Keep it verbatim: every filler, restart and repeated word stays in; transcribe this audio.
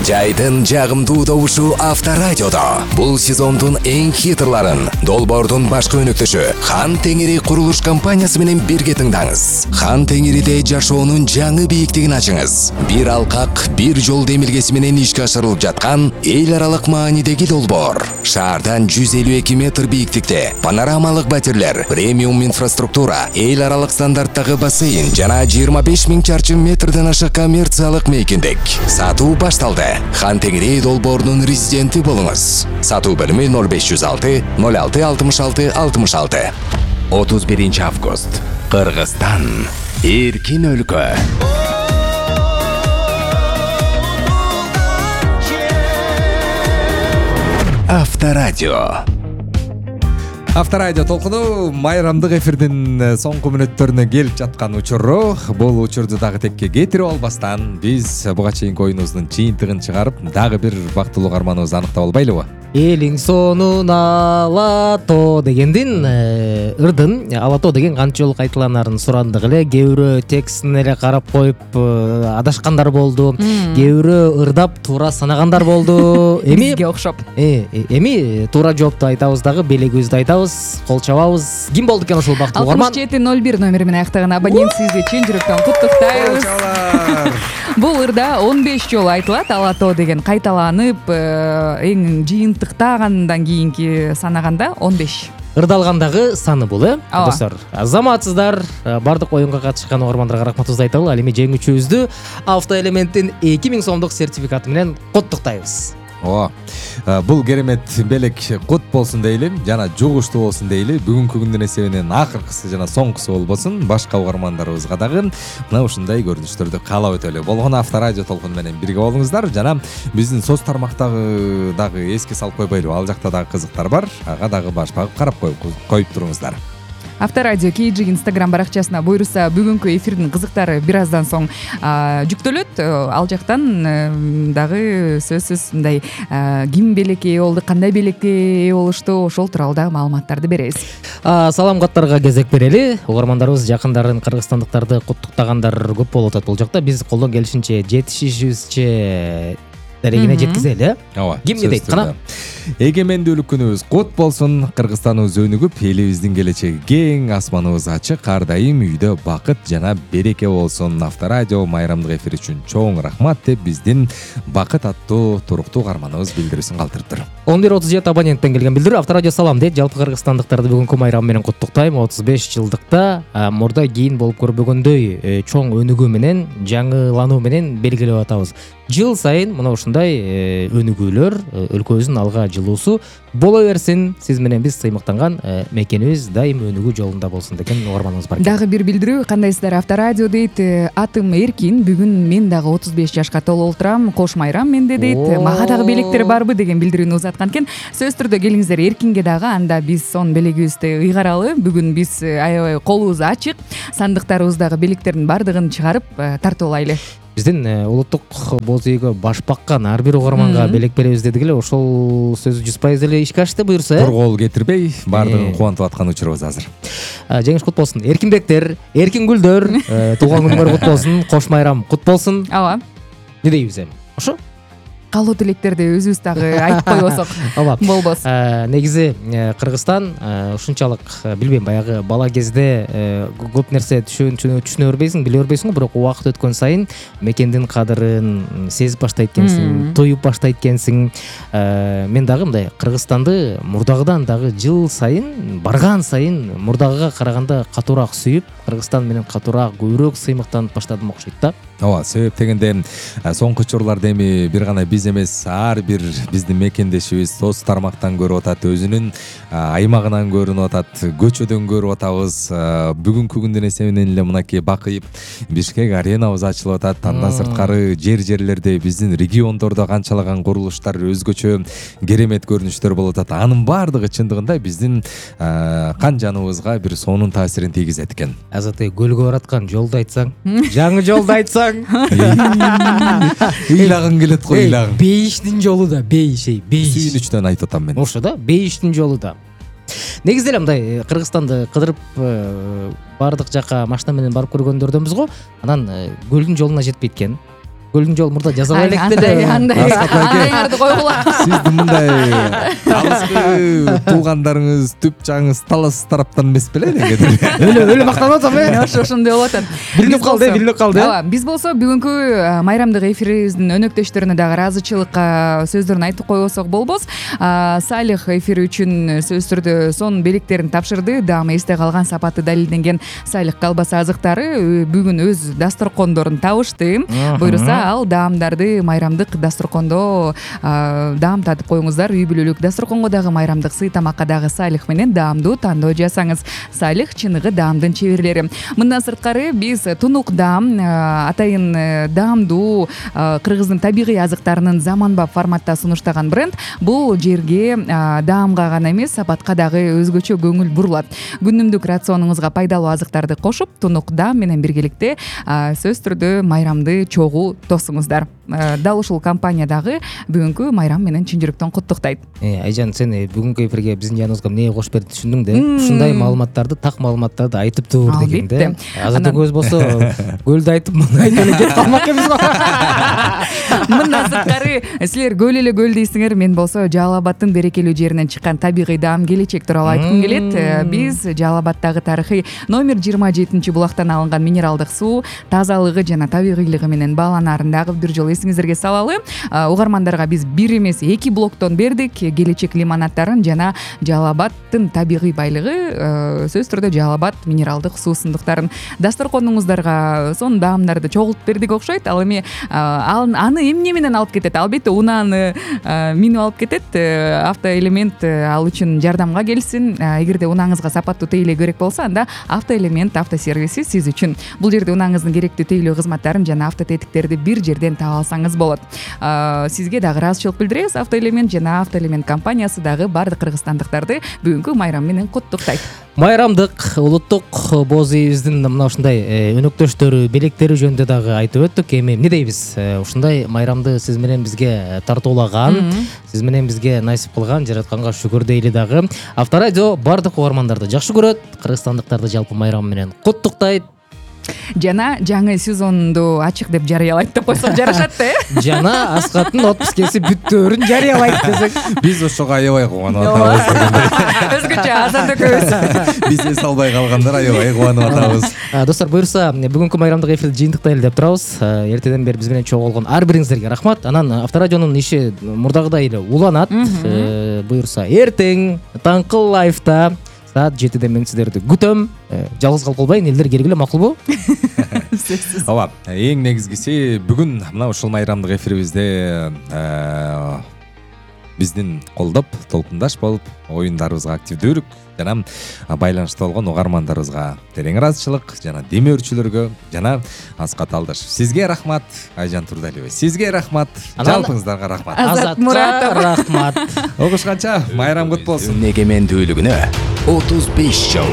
Жайдын жагымдуу добушу Авторадиодо. Бул сезондун эң хитрларын Долбоордун башкы өнөктөшү Хан Теңири курулуш компаниясы менен бирге тыңдаңыз. Хан Теңириде жашоонун жаңы бийиктигин ачыңыз. Бир алкак, бир жол демилгеси менен ишке ашырылып жаткан эл аралык маанидеги долбоор. Шаардан жүз элүү эки метр бийиктикте панорамалык батирлер, премиум инфраструктура, эл аралык стандарттагы бассейн жана жыйырма беш миң чарчы метрден ашык коммерциялык мейкиндик. Сатуу башталды. Хан Теңири долбоорунун резиденти болуңуз. Сатуу бөлүмү ноль беш жүз алты ноль алты алтымыш алты алтымыш алты. отуз биринчи август. Кыргызстан. Эркин өлкө. Авторадио. Авторадио толкуну майрамдык эфирдин соңку мүнөттөрүнө келип жаткан учуру. Бул учурду дагы текке кетирип албастан биз буга чейинки оюнубуздун жыйынтыгын чыгарып, дагы бир бактылуу каарманыбызды аныктап албайлыбы? Элиң сонун Алато дегендин ырдын Алато деген канча жолу кайталанарын сурандык эле. Кээ бирөө текстине эле карап коюп адашкандар болду. Кээ бирөө ырдап туура санагандар болду. Эми бизге окшоп. Эми туура жоопту айтабыз дагы, белегибизди айтабыз, кол чабабыз. Ким болду экен ошол бактылуу каарман? алтымыш жети ноль бир номери менен аяктаган абонент сизди чын жүрөктөн куттуктайбыз. Бул ырда он беш жолу айтылат. Алато деген кайталанып, эң жыйынтыктагандан кийинки санаганда он беш. Ырдалгандагы саны бул, э? Достор, азаматсыздар, бардык оюнга катышкан угармандарга рахматыбызды айталы. Ал эми жеңүүчүбүздү Автоэлементтин эки миң сомдук сертификаты менен куттуктайбыз. О, бул керемет белек кут болсун дейли, жана жугуштуу болсун дейли. Бүгүнкү күндүн эсебинен акыркысы жана соңкусу болбосун. Башка угармандарыбызга дагы мына ушундай көрүнүштөрдү каалап өтөлү. Болгону Авторадио толкуну менен бирге болуңуздар. Жана биздин соц тармактагы дагы эске салып койбойлу. Ал жакта дагы кызыктар бар. Ага дагы баш багып карап коюп туруңуздар. Авторадио Кейджи Инстаграм баракчасына буйруса бүгүнкү эфирдин кызыктары бир аздан соң жүктөлөт. Ал жактан дагы сөзсүз мындай ким белекке ээ болду, кандай белекке ээ болушту, ошол тууралуу дагы маалыматтарды беребиз. Салам каттарга кезек берели. Угармандарыбыз жакындарын, кыргызстандыктарды куттуктагандар көп болуп атат бул жакта. Биз колдон келишинче жетишишибизче дәрегене жеткизели. Ооба. Ким дейт? Кана. Эгемендүүлүк күнүбүз кут болсун. Кыргызстаныбыз өнүгүп, элибиздин келечеги кең, асманыбыз ачык, ар дайым үйдө бакыт жана береке болсун. Авторадио майрамдык эфир үчүн чоң рахмат деп биздин бакыт аттуу туруктуу каарманыбыз билдирүүсүн калтырыптыр. он бир отуз жети абоненттен келген билдирүү. Авторадио салам дейт. Жалпы кыргызстандыктарды бүгүнкү майрам менен куттуктайм. отуз беш жылдыкта мурда кийин болуп көрбөгөндөй чоң өнүгүү менен, жаңылануу менен белгилеп атабыз. Жыл сайын мына ушундай өнүгүүлөр, өлкөбүздүн алга жылуусу боло берсин. Сиз менен биз сыймыктанган мекенибиз дайым өнүгүү жолунда болсун деген угарманыбыз бар. Дагы бир билдирүү, кандайсыздар? Авторадио дейт. Атым Эркин, бүгүн мен дагы отуз беш жашка толуп отурам. Кош майрам менде дейт. Мага дагы белектер барбы деген билдирүүнү узаткан экен. Сөз түрдө келиңиздер Эркинге дагы, анда биз сон белегибизди ыйгаралы. Бүгүн биз аябай колубуз ачык. Сандыктарыбыздагы белектердин бардыгын чыгарып тартып алайлы. Биздин улуттук боз ийгө баш баккан ар бир угарманга белек беребиз дедик эле. Ошол сөз жүз пайыз эле ишке ашты буюрса. Коргоол кетирбей, баардыгын кубантып аткан учурубуз азыр. Жеңиш кут болсун. Эркинбектер, эркин гүлдөр, туулган күнүңөр кут болсун. Кош майрам кут болсун. Ооба. Не дейбиз эми? Ошо? Калуу тилектерди өзүбүз дагы айтып койбосок болбос. Негизи Кыргызстан ушунчалык, билбейм, баягы бала кезде көп нерсе түшүнө бербейсиң, биле бербейсиң, бирок убакыт өткөн сайын мекендин кадырын сезип баштайт экенсиң, туюп баштайт экенсиң. Мен дагы мындай Кыргызстанды мурдагыдан дагы жыл сайын, барган сайын мурдагыга караганда катуураак сүйүп, Кыргызстан менен катуураак, көбүрөөк сыймыктанып баштадым окшойт да. Ооба, себеп дегенде соңку учурларда эми бир гана биз эмес, ар бир биздин мекендешибиз соц тармактан көрүп атат, өзүнүн аймагынан көрүнүп атат, көчөдөн көрүп атабыз. Бүгүнкү күндүн эсебинен эле мынакей Бакыйып Бишкек аренабыз ачылып атат. Андан сырткары жер-жерлерде биздин региондордо канчалаган курулуштар өзгөчө керемет көрүнүштөр болуп атат. Анын баардыгы чындыгында биздин кан жаныбызга бир сонун таасирин тийгизет экен. Азаты көлгө бараткан жолду айтсаң, жаңы жолду айтсаң, ыйлагың келет го, ыйлагың. Бейиштин жолу да, бейиш, бейиш. Сүйүнүчтөн айтып атам мен. Ошо да, бейиштин жолу да. Негизи эле мындай Кыргызстанды кыдырып баардык жака машина менен барып көргөндөрдөнбүз го. Анан көлдүн жолуна жетпейт экен. көлдүн жолу мурда жазабай элек андай андай Аскат айке. андайларды койгула. Сиздин мындай алыскы туугандарыңыз, түп жагыңыз талас тараптан эмес беле дегендир. өлө өлө мактанып атам э. Ошо ошондой болуп атат. Билинип калды, билинип калды. Ооба, биз болсо бүгүнкү майрамдык эфирибиздин өнөктөштөрүнө дагы ыраазычылыкка сөздөрүн айтып койбосок болбос. Салих эфири үчүн сөзсүз түрдө сонун белектерин тапшырды. Дагы эсте калган сапаты далилденген Салих колбаса азыктары бүгүн өз дасторкондорун табышты. Буюрса ал даамдарды майрамдык дасторкондо даам татып коюңуздар. Үй бүлөлүк дасторконго дагы майрамдык сый тамакка дагы Салих менен даамдуу тандоо жасаңыз. Салих чыныгы даамдын чеберлери. Мындан сырткары биз тунук даам, атайын даамдуу кыргыздын табигый азыктарынын заманбап форматта сунуштаган бренд. Бул жерге даамга гана эмес, сапатка дагы өзгөчө көңүл бурулат. Күнүмдүк рационуңузга пайдалуу азыктарды кошуп, тунук даам менен биргеликте сөзсүз түрдө майрамды чогуу тосуңуздар. Дал ушул компания дагы бүгүнкү майрам менен чын жүрөктөн куттуктайт. Айжан, сен бүгүнкү эфирге биздин жаныбызга эмне кош берди түшүндүң да? Ушундай маалыматтарды, так маалыматтарды айтып тур дегенде. Азыркы көз болсо көлдү айтып, муну айтып эле кетип калмак эмес го. Мындан сырткары силер көл эле көл дейсиңер, мен болсо Жалал Абадтын берекелүү жеринен чыккан табигый даам келечек тууралуу айткым келет. Биз Жалал Абадтагы тарыхый номер жыйырма жетинчи булактан алынган минералдык суу тазалыгы жана табигыйлыгы менен бааланаарын дагы бир жолу эсиңиздерге салалы. Угармандарга биз бир эмес эки блоктон бердик. Келечек лимонадтарын жана Жалал Абадтын табигый байлыгы, сөзсүз түрдө Жалал Абад минералдык суусундуктарын дасторконуңуздарга сонун даамдарды чогултуп бердик окшойт. Ал эми аны эмне менен алып кетет? Албетте унааны минип алып кетет. Автоэлемент ал үчүн жардамга келсин. Эгерде унаңызга сапаттуу тейлөө керек болсо, анда автоэлемент автосервиси сиз үчүн. Бул жерде унаңыздын керектүү тейлөө кызматтарын жана автотетиктерди бир жерден таап алсаңыз болот. Сизге дагы ыраазычылык билдиребиз. Автоэлемент жана автоэлемент компаниясы дагы бардык кыргызстандыктарды бүгүнкү майрам менен куттуктайт. Майрамдык улуттук боз ийибиздин мына ушундай өнөктөштөрү, белектери жөнүндө дагы айтып өттүк. Эми эмне дейбиз? Ушундай майрамды сиз менен бизге тартуулаган, сиз менен бизге насип кылган жаратканга шүгүр дейли дагы. Авторадио бардык угармандарды жакшы көрөт, кыргызстандыктарды жалпы майрам менен куттуктайт. Жана жаңы сезонду ачык деп жарыялайт деп койсок жарашат да, э? Жана Аскаттын отпускеси бүттөөрүн жарыялайт десек. Биз ошого аябай кубанып атабыз. Өзгөчө азат экөөбүз. Биз эс албай калгандар аябай кубанып атабыз. Достор, буюрса бүгүнкү майрамдык эфирди жыйынтыктайлы деп турабыз. Эртеден бери биз менен чогуу болгон ар бириңиздерге рахмат. Анан Авторадионун иши мурдагыдай эле уланат. Буюрса эртең таңкы лайфта саат жетиде мен сиздерди күтөм. Жалгыз калып калбайын, элдер келгиле, макулбу? Ооба, эң негизгиси бүгүн мына ушул майрамдык эфирибизде биздин колдоп, толкундаш болуп, оюндарыбызга активдүүрүк жана байланышта болгон угармандарыбызга терең ыраазычылык жана демөөрчүлөргө жана Аскат Алдашев. Сизге рахмат, Айжан Турдалиева. Сизге рахмат, жалпыңыздарга рахмат. Азат Муратов рахмат. Угушканча майрам кут болсун. Эгемендүүлүгүнө отуз беш жыл.